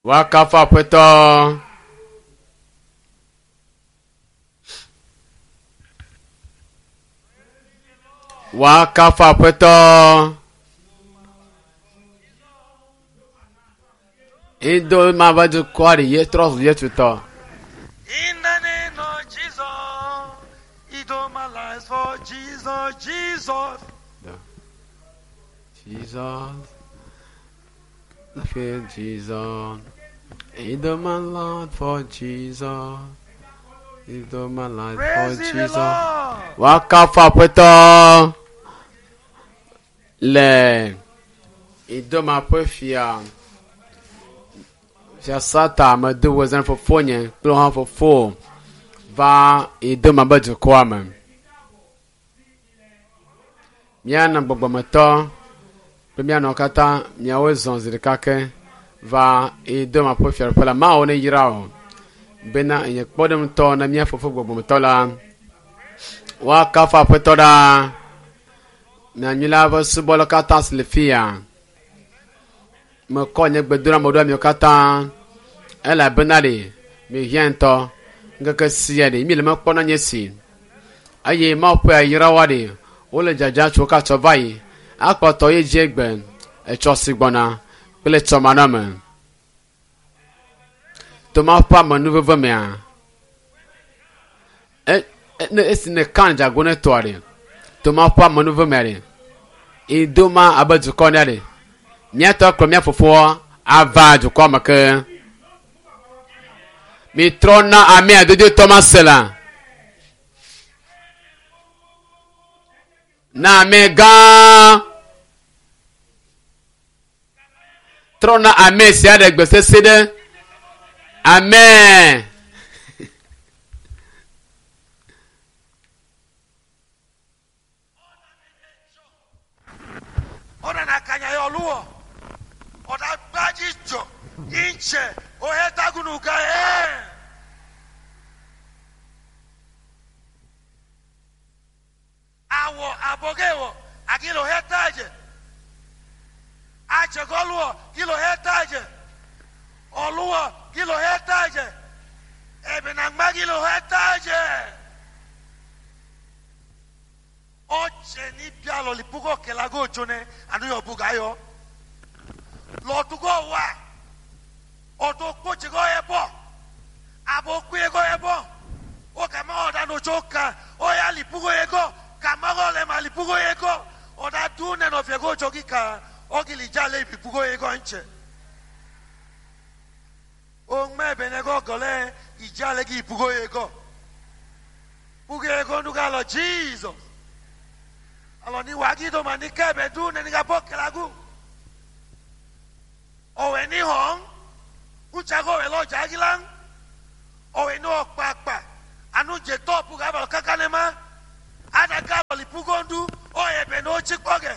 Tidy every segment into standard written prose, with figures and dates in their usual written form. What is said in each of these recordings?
Woakafu Aƒetɔ. Woakafu Aƒetɔ. Ido ma va dukɔa ɖe ye trɔ zu Yesu tɔ. In the name of Jesus, he do my life for Jesus, Jesus. Jesus, I feel Jesus. Ido my life for Jesus. Ido my life for Praise the Jesus. Lord. Woakafu Aƒetɔ le Idoma ƒe fia fia Sata medo wòzã fofonye kple hã fofo va Idoma be dukɔa me. Míanɔ gbɔgbɔmetɔ kple míanɔ katã miawo zɔ zi ɖeka ke va Idoma ƒe fiaɖuƒe la. Mawu ne yra wò bena enye kpɔɖeŋutɔ na mía fofo gbɔgbɔmetɔ la. Woakafu Aƒetɔ ɖaa. Nyanyui la ƒe subɔlawo katã si le fi ya. Mekɔ nye gbedoname ɖo amiwo katã elabena ɖe mihiã ŋutɔ. Ŋkeke sia ɖe mi le mekpɔ na nye si eye Mawu ƒe ayrawoa ɖe wole dzadza tso katsɔ va yi akpɔtɔ ye dzi egbe etsɔ si gbɔna kple etsɔ manɔme. To Mawu ƒe amenuveve mea, e, e, ne esi ne kan dzago ne tɔa ɖe to Mawu ƒe amenuveve mea ɖe idoma abe dukɔ ne ɖe míatɔ kplɔ mía fofoa ava dukɔa me ke. Mitrɔ na amea dodotɔ ma se la. Na ame gã. Trɔ na ame sia ɖe gbe sese ɖe. Amen. Ọ̀nà kanya yọ lúwọ̀. Ọ̀dà gbájí jọ. Ìnchẹ̀ òhẹ́tàgùnù ká ẹ̀. Àwọ̀ àbọ̀gẹ̀wọ̀ àkìlọ̀ hẹ́tàjẹ̀. Àchẹ̀gọ́lùwọ̀ kìlọ̀ hẹ́tàjẹ̀. Ọ̀lúwọ̀ kìlọ̀ hẹ́tàjẹ̀. Ẹ̀bìnàgbá kìlọ̀ hẹ́tàjẹ̀. Ọ̀chẹ̀ ní bíalọ̀ lìpúkọ̀ kẹlàgò tsonẹ ànúyọ̀ bùgàyọ̀. Lọ́tùgọ̀ wà ọ̀dọ̀ kpọ̀tsẹ̀gọ̀ yẹ bọ̀ àbọ̀ kúyẹ̀gọ̀ yẹ bọ̀ ó kàmá ọ̀dà nòtso kà ọ̀yà lìpúkọ̀ yẹ gọ̀ kàmá ọ̀lẹ̀ mà lìpúkọ̀ yẹ gọ̀ ọ̀dà dùn nẹ̀nọ̀ fìẹ́ kó tsọ kíkà ọ̀gìlì dzalẹ̀ lìpúkọ̀ yẹ gọ̀ ńtsẹ̀. Òŋmɛ bẹ̀nẹ̀ gọ̀ gọ̀lẹ́ ìdzalẹ̀ kì ìpúkọ̀ yẹ gọ̀ púkọ̀ yẹ gọ̀ ndúkà lọ Jesus alọ ní wàgídọ̀ mà ní kẹ́bẹ̀ dùn nẹ̀nìkà bọ̀ kẹlẹ́gù ọ̀wẹ̀ ní hàn ŋutsago wẹ̀ lọ dzagilan ọ̀wẹ̀ ní ọ̀kpakpa anudze tɔpu gaba kaka ne ma adaka lɔlipugondu ɔyɛ bɛ ne wotsi kpɔgɛ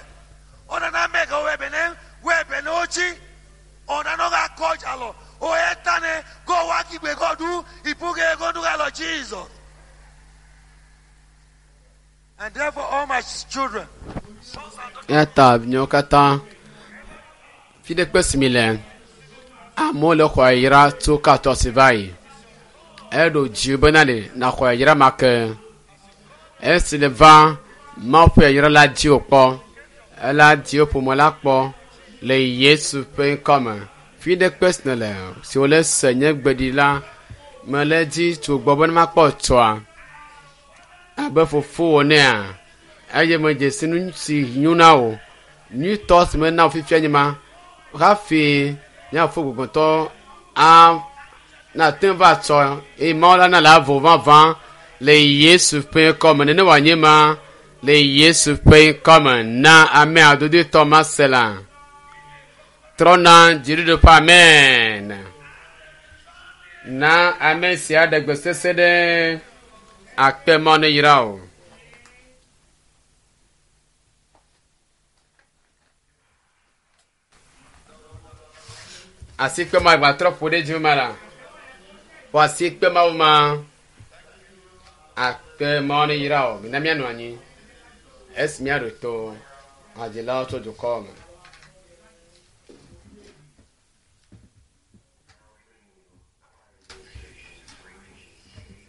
ɔnana mɛgɛ ɔyɛ bɛ ne wɛ bɛ ne wotsi ɔnana ɔga kɔdza lɔ ɔyɛ tane kɔ wakigbe kɔdu ipuge gondu galɔ Jesus and therefore all my children sons and daughters. Eya ta miawo katã fi ɖe kpe si mi le amewo le xɔ yayra tso katɔ si va yi. Eɖo dzi bena ɖe naxɔ yayra ma ke. Esi le va Mawu ƒe yayra la dzi wòkpɔ. Ela dzi wò ƒome la kpɔ le Yesu ƒe ŋkɔme. Fi ɖe kpe si nèle si wòle se nye gbeɖi la mele dzi tso gbɔ be ne makpɔ tsɔa abe fofowò nea eye medze si nu si nyo na wò. Nyuitɔ si mena wò fifia nye ma hafi míafo gbɔgbɔtɔ a nate ŋu va tsɔ eye Mawu la na le avo vavã le Yesu ƒe ŋkɔme. Nene wòanye ma le Yesu ƒe ŋkɔme na ame adodotɔ ma se la. Trɔ na dziɖuɖu ƒe amen. Na ame sia ɖe gbe sese ɖe akpe Mawu ne yra wò. Asikpe ma gbatrɔ ƒo ɖe dzi ma la. Ƒo asikpe mawo ma. Akpe Mawu ne yra wò. Mina míanɔ anyi. Esi míaɖo to hadzilawo tso dukɔ me.